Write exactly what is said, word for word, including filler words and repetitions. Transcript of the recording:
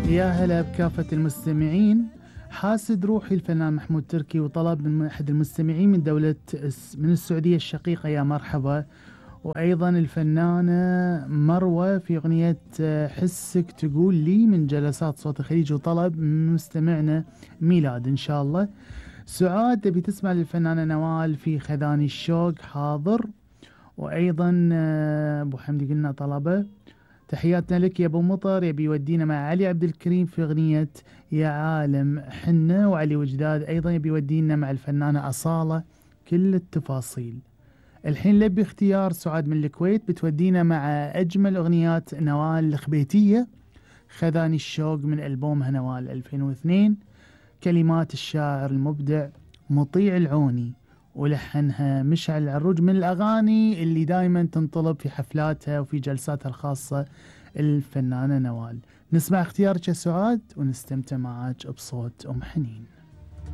يا هلا بكافة المستمعين. حاسد روحي الفنان محمود تركي وطلب من أحد المستمعين من دولة من السعودية الشقيقة يا مرحبا، وأيضا الفنانة مروة في أغنية حسك تقول لي من جلسات صوت الخليج، وطلب من مستمعنا ميلاد إن شاء الله. سعاد تبي تسمع للفنانة نوال في خذاني الشوق، حاضر. وأيضا أبو حمدي قلنا طلبه. تحياتنا لك يا ابو مطر، يبي يودينا مع علي عبد الكريم في اغنية يا عالم حنة، وعلي وجداد ايضا يبي يودينا مع الفنانة أصالة كل التفاصيل. الحين لبي اختيار سعاد من الكويت، بتودينا مع اجمل اغنيات نوال الخبيتية، خذاني الشوق من ألبومها نوال ألفين واثنين، كلمات الشاعر المبدع مطيع العوني، ولحنها مشعل العروج، من الأغاني اللي دايما تنطلب في حفلاتها وفي جلساتها الخاصة الفنانة نوال. نسمع اختيارك يا سعاد ونستمتع معاك بصوت أم حنين.